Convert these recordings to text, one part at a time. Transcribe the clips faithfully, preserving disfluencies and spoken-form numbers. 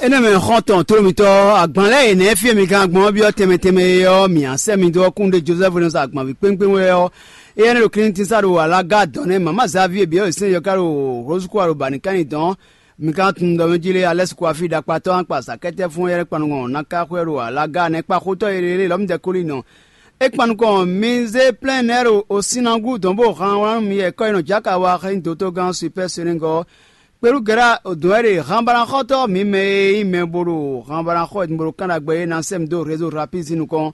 Énɛ́ mɛ xɔ́ntɔn tló mitɔ́, agban lɛ́ɛ e nɛ̌ fí e mi gán gbɔn ɔ́ byɔ́ tɛnmɛ tɛnmɛ é ɔ́, mǐ á sɛ́ mi dó ɔ́ kúnnuɖe Jozɛ́fu e nɔ sa agbanví kpéŋkpéŋ wɛ ɔ́, éyɛ́ nɛ́ ɖo Klíntisa ɖo alága dɔ̌n nɛ́ mǎmá Zavíe byɔ́ e sɛ́n yɔ ká ɖo Hlozukúwa ɖo Banikani dɔ̌n. Mi ka tunwun ɖɔ mɛ jí lé, Alɛ́si Kuafí ɖakpatɔ́ akpa azǎkɛ́tɛ́ fún éyɛ́ kpanɔgɔn ná ká xwé ɖo alága nɛ́ kpa xótɔ́ e lě lɔ́mɔdɛ́ Kolínɔ. É kpan nukɔn mi zé plɛ́n nɛ́ ɖo osinagu dɔn bó han wlán nú mi yɛ kɔ́ e nɔ jǎ ka wa xá nyí dotogán Supɛ́ Senegɔ́. Kpelúgɛ́ra dɔn wɛ ɖe hanbalaxɔ́tɔ́ mǐ mɛ e nyí mɛ bo ɖo hanbalaxɔ e bo ɖo kán ɖagbe é ná sɛ́ mi dó Rezo Rapízi nukɔn.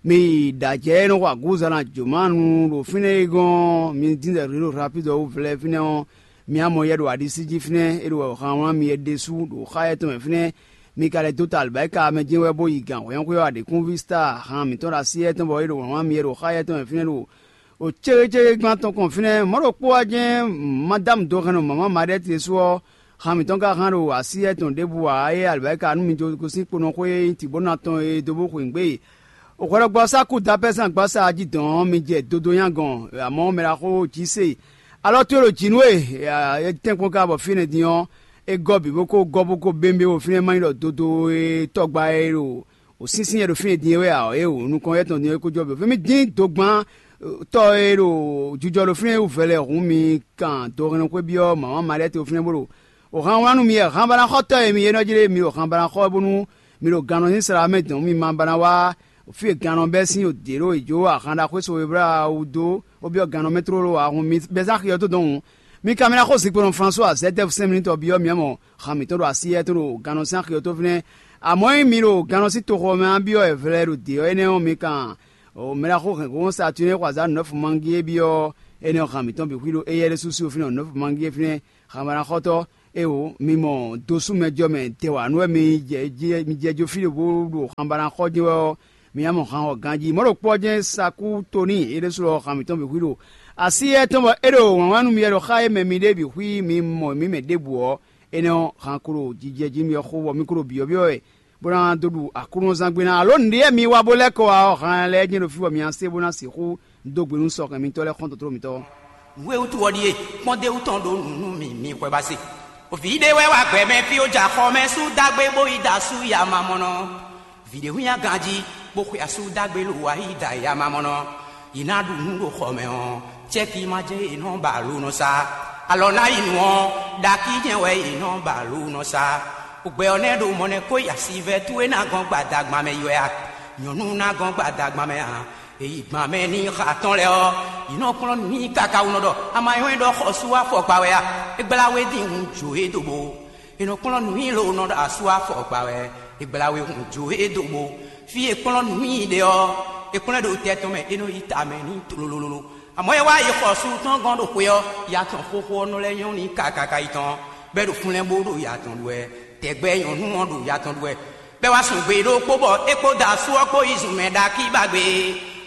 Mi yi ɖo ajɛ e nɔ xo agǔza ná jǒmánu ɖo fínɛ́ é gɔ́n, mi dín zɛ Rezo Rapízi ɔ́ wú vlɛ́ fínɛ́ ɔ́, mi á mɔ yɛ ɖo aɖisí jí fínɛ́, é ɖo wɛ han wlán mi yɛ ɖésú ɖo xá yɛ tɔn mɛ fínɛ́. Mi ka lɛ́ dó ta alɔbɛ́ka mɛ jɛ́n wɛ bó yi gǎn hwɛ́nxwé ɔ́ aɖěkúnví Staa han mǐtɔn ɖo así yɛ tɔn bɔ é ɖo wlǎn mi yɛ ɖo xá yɛ tɔn mɛ fínɛ́ ɖo o céwécéwé gban tɔn kɔn fínɛ́. Mɔ̌ ɖokpó ɔ́ jɛ́n Madámu dó hɛn nɔ mama Maɖɛ́ti ɖésú ɔ́, han mǐtɔn ka hán ɖo así yɛ tɔn ɖěbǔ ǎ, é alɔbɛ́ka nú mi jó gosín kponɔxwé e nyí Tibóna tɔn e dó bó xweyǐgbe. Hwɛɖɔgbɔ́sá kú dapɛ́ sín agbása jí dɔn ɔ́, mi jɛ dodo nyá gɔn, amɔ̌ mɛ ɖaxó jí se. Alɔ towe ɖo jǐ nú we, tɛ́nkpɔ́n ka bɔ fínɛ́ din ɔ́, é gɔ́ bǐ bó kó gɔ́ bó kó bémbé wo fínɛ́ má nyí ɖɔ dodo e tɔgba e ɖo wǒ sínsín e ɖo fínɛ́ din é wɛ ǎ, é wǒ nukɔn yɛ́ tɔn din é kó jɔ bǐ. Fí mi dín dogban tɔ́ e ɖo jijɔ ɖo fínɛ́ wú vɛlɛ hǔn mi kan dohɛnnɔxwé byɔ́ mǎmá Maɖiɛ́ te fínɛ́ bó ɖo o han wlán nú mi wɛ hanbanaxɔtɔ́ e mi é nɔ jlé mi ɖo hanbanaxɔ bónú mi ɖo gannɔ sín sla mɛ dɔn mi ma ba ná wá fí e gannɔ bɛ́ sín o dě ɖo è jó ahan ɖaxó so e blá wú dó bó byɔ́ gannɔ mɛ tlóló ǎ. Hǔn mi bɛ́ zán xi ɔ́ dó dɔn hǔn, mi ka mɛ ná xó zinkpo nɔ Flasuwa Zɛ́tɛfu sɛ́n mi nú tɔbí ɔ́, mi ɔ́ mɔ han mǐtɔn ɖo así éyɛ́ tɔn ɖo gannɔ sín axi ɔ́ tó fínɛ́. Amɔ̌ ényí mi ɖo gannɔ sín toxo ɔ́ mɛ ɔ́ byɔ́ wɛ vlɛ́ ɖo dě ɔ́ énɛ́ ɔ́, mi kan mɛ ɖaxó hɛ̌nxóxó Saturnín e xɔ azǎn nɔ́fu mangí é byɔ́ énɛ́ ɔ́, han mǐtɔn bǐ xwí ɖo éyɛ́ ɖésú sí fínɛ́ nɔ́fu mangí é fínɛ́. Hanmanaxɔtɔ́, éeǒ, mi mɔ dosúmɛjɔ mɛ dɛwǎ nú wɛ mi jɛ jó fí ɖěbǔ ɖo hanbanaxɔ jɛ́n wɛ ɔ́, mi ná mɔ han ɔ́ ganjí. Mɔ̌ ɖokpó ɔ́ jɛ́n Sakútoníi é ɖésú ɔ́, han mǐtɔn bǐ xwí ɖo así éyɛ́ tɔn bɔ é ɖo wǎnwán nú mi wɛ ɖo xá e mɛ mi ɖe bǐ xwí mi mɔ mǐ mɛ ɖěbǔ ɔ́, énɛ́ ɔ́, han ko ɖo jijɛ jí mi ɔ́ xo bɔ mi ko ɖo byɔ̌byɔ́ wɛ, bó ná dó ɖu Aklúnɔzángbé ná. Alǒ nǔɖé mi wa bó lɛ́ kɔ wá ɔ́, han lɛ́ɛ jɛ́n ɖo fí bɔ mi ná se bó ná sixú dó gbe nú sɔhɛn mitɔ́ lɛ́ɛ xɔ́ntɔn tló mitɔ́. Nǔ e wútu ɔ́ ɖíe, kpɔ́ndéwú tɔn ɖó nǔ nú mì, mi hwɛ ba se. Vǐ ɖé wɛ wá gbɛ mɛ fí ó jɛ axɔ mɛ sú dágbé bó yi da asú ya mamɔnɔ. Vǐ ɖé hwínnya ganjí, bó xwe asú dágbé lo wá yi da ya mamɔnɔ. Yi ná ɖu nǔ ɖo xɔ mɛ ɔ́, cɛ́ki ma jɛ́n è nɔ ba lo nɔ sa. Alɔ ná yi nǔ ɔ́, ɖakí jɛ́n wɛ è nɔ ba lo nɔ sa. Gbɛ ɔ́ nɛ́ ɖo mɔ̌ nɛ́ kó yi asivɛ́ towe ná gɔ́n gbadagban mɛ yi wɛ a? Nyɔ̌nu ná gɔ́n gbadagban mɛ ǎ. È yi gban mɛ n'i xa tɔn lɛ́ɛ ɔ́, yi nɔ kplɔ́n nǔ n'i káká wú nɔ ɖɔ: Ama nyɔ́ é ɖɔ xɔsú afɔkpa wɛ a? É gbla we dín hun jǒ e dó bó. È nɔ kplɔ́n nǔ n'i lo nɔ ɖɔ asú afɔkpa wɛ. É gbla we hun jǒ e dó bó. Fí e kplɔ́n nǔ n'i ɖe ɔ́, è kplɔ́n ɛ ɖo tɛ tɔn mɛ, é nɔ yi ta mɛ n'i tlololo. Amɔ̌ é wá yi xɔsú tɔn gɔ́n ɖo xwe ɔ́, ya tɔn xóxó ɔ́ nɔ lɛ́ nyɔ́ n'i káká yi tɔn, bɔ é ɖo fúnlɛ́n bó ɖo ya tɔn ɖu wɛ. Tɛgbɛ nyɔ̌nu ɔ́ ɖo ya tɔn ɖu wɛ. Bɔ é wá sun gbe ɖokpó bɔ é kpódó asú ɔ́ kpó yi zun mɛ ɖakí ba gbe,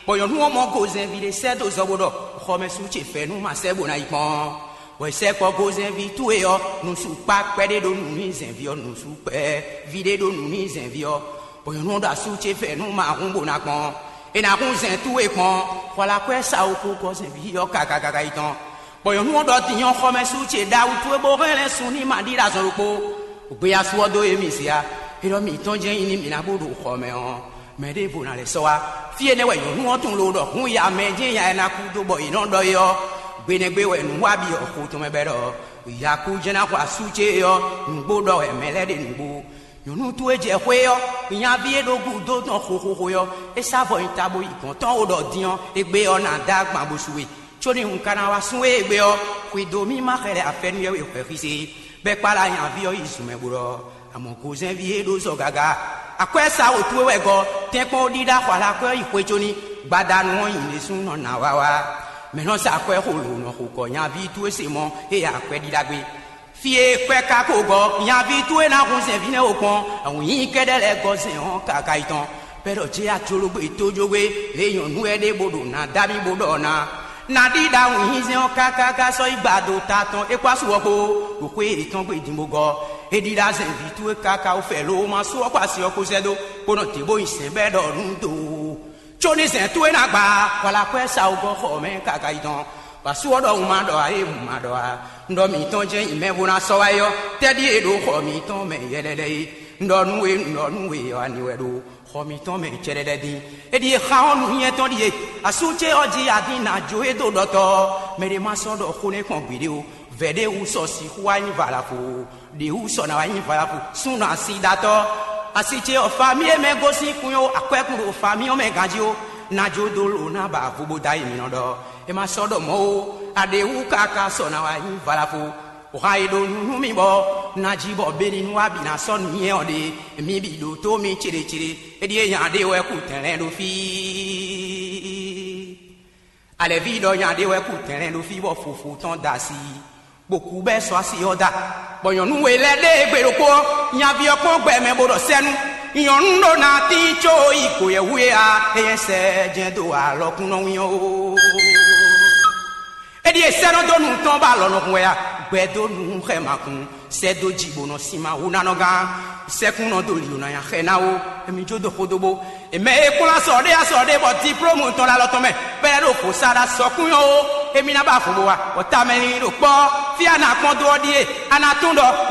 bɔ nyɔ̌nu ɔ́ mɔ gozɛnví ɖé sɛ́ dó zɔ bó ɖɔ: Xɔmɛsú ce fɛ́nú ma sɛ́ bó ná yi kpɔ́n. Bɔ è sɛ́ kpɔ́ gozɛnví towe ɔ́, nǔsú kpá kpɛɖé ɖó nǔ n'i zɛnví ɔ́, nǔsú kpɛví ɖé ɖó nǔ n'i zɛnví ɔ́, bɔ nyɔ̌nu ɔ́ ɖo asú ce fɛ́nú ma hún bó ná kpɔ́n. È nǎ hún zɛn towe kpɔ́n, xwalakwɛ́ sa wokú gɔ́ zɛnví ɔ́ kákákáká yi tɔn. Bɔ nyɔ̌nu ɔ́ ɖɔ din ɔ́, xɔmɛsú ce ɖawu towe bó hɛn lɛ́ sun n'i ma ɖíɖá azɔn ɖokpó. Gbeyasu ɔ́ dó émí se a? É ɖɔ mǐtɔn jɛ́n nyí nú mǐ ná bó ɖo xɔ mɛ ɔ́, mɛ ɖěvo ná lɛ́ sɔ́ wá. Fí énɛ́ wɛ nyɔ̌nu ɔ́ tunwun lo ɖɔ hǔn ya mɛ jɛ́n ya e ná kú dó bɔ è nɔ ɖɔ é ɔ́, gbe nɛ́ gbe wɛ nǔ wa bǐ ɔ́ xo tɔn mɛ bɔ é ɖɔ: Yakú jɛ́n ná xɔ asú ce é ɔ́, nǔgbó ɖɔ wɛ mɛ lɛ́ɛ ɖe nǔgbó. Nyɔ̌nu towe jɛ xwé ɔ́, nyaví e ɖo gúdo tɔn xóxóxó ɔ́, é sá vɔ nyi ta bó yi gɔ̌n tɔn ó ɖɔ din ɔ́, égbé ɔ́ ná dó agban bó su we. Có ní un ka ná wá sún we égbé ɔ́, xwedó mì ma xɛ lɛ afɛ́nú yɛ́ we hwɛxíse, bɔ é kpálá nyaví ɔ́ yi zun mɛ bó ɖɔ: Amɔ̌ gozɛ́nví e ɖó zɔ gaga. Akwɛ́ sa wǒ towe wɛ gɔ́, tɛ́nkpɔ́n ó ɖíɖá xɔ alákwɛ́ ɔ́ yi xwe có ní gbadanu ɔ́ nyi ɖésú nɔ nǎ wá wá. Mɛ̌ nɔ sa akwɛ́ xo lǒ nɔ xo kɔ nyaví towe se mɔ éyɛ́ akwɛ́ ɖíɖá gbé? Fí e kwɛ́ ka ko gɔ́, nyaví towe ná hun zɛ̌nví nɛ́ wo kpɔ́n, awǐnnyí kɛ́ɖɛ́ lɛ́ɛ gɔ́ zɛ̌n ɔ́ káká yi tɔn. Bɛ́ ɖɔ jɛ ajológbé tójógbé, lě nyɔ̌nu wɛ ɖé bó ɖo nǎ dá mì bó ɖɔ ná: Ná ɖíɖá wǐnnyízɛ́n ɔ́ káká sɔ́ yi gba do ta tɔn é kpó asú ɔ́ kpó, ɖo xwé yětɔn gbe din bó gɔ́. É ɖíɖá zɛ̌nví towe káká wú fɛ loo ma sú ɔ́ kpó asi ɔ́ kpó sɛ́ dó, bó nɔ dě bó nyi sɛ̌n bɛ́ ɖɔ nú do. Có ní zɛ̌n towe ná gba, hwalakwɛ́ sa wú gɔ́ xɔ mɛ káká yi tɔn. Bɔ asú ɔ́ ɖɔ un ma ɖɔ ǎ é un ma ɖɔ ǎ. Un ɖɔ mǐtɔn jɛ́n nyi mɛ bó ná sɔ́ wá é ɔ́, tɛ́ ɖíe ɖo xɔ mǐtɔn mɛ yɛlɛlɛ é? Un ɖɔ nú we, un ɖɔ nú we, ɔ́ ani wɛ ɖo xɔ mitɔn mɛ cɛɖɛɖɛ dín. Éɖíe xa ɔ́ nǔnywɛ́ tɔn ɖíe. Asú ce ɔ́ jí adín ná jó e dó ɖɔtɔ́. Mɛ ɖé ma sɔ́ ɖɔ xó nɛ́ kpɔn gbeɖé ó. Vɛ̌ ɖé wú sɔ sixú wá nyí valafo. Ɖě wú sɔ ná wá nyí valafo. Súnnu asidatɔ́. Asi ce ɔ́ fa mì e mɛ gosín kun ó, akwɛ́kún ɖo fa mì ɔ́ mɛ ganjí ó. Ná jó dó lǒ ná ba vo bó dó ayi mǐ nɔ ɖɔ. É ma sɔ́ ɖɔ mɔ̌ ó. Aɖě wú káká sɔ ná wá nyí valafo. Wǎ e ɖo nú nú mì bɔ ná jí bɔ beni nú wá bǐ ná sɔ́ nǔ nyɛ ɔ́ ɖe. Mi bǐ ɖótó mi céɖécéɖé. Éɖíe nya ɖé wɛ kú tɛnlɛ́n ɖo fí. Alɛ̌ví ɖɔ nya ɖé wɛ kú tɛnlɛ́n ɖo fí bɔ fofo tɔn da asi. Bó kú bɛ́ sɔ́ asi ɔ́ da. Bɔ nyɔ̌nu we lɛ́ɛ ɖe gbe ɖokpó ɔ́, nyaví ɔ́ kpɔ́n gbɛ mɛ bó ɖɔ sɛ́nú. Nyɔ̌nu ɖó ná tín có yi kǒyɛ́wú é a, é nyɛ sɛ jɛ́n dó alɔkúnɔ wín ɔ́ ó. Éɖíe sɛ́ nɔ dó nu tɔn ba alɔ nɔ hun wɛ a? Gbɛ dó nu xɛ ma kun, sɛ́ dó jǐ bó nɔ sin ma wú ná nɔ gán. Sɛ́kún nɔ dó lǐ ná nya xɛ ná ó. Emi jó dó xódó bó. È mɛ e kplɔ́n asɔ ɖé asɔ ɖé bɔ diplómu tɔn ɖo alɔ tɔn mɛ, bɔ é lɛ́ ɖo vo sa ɖo asɔkún nyɔ́ ó. Emi ná ba vo bó wa, bɔ tamɛ linlin ɖo kpɔ́. Fí a nǎ kpɔ́n dó ɔ́ ɖíe, a nǎ tunwun ɖɔ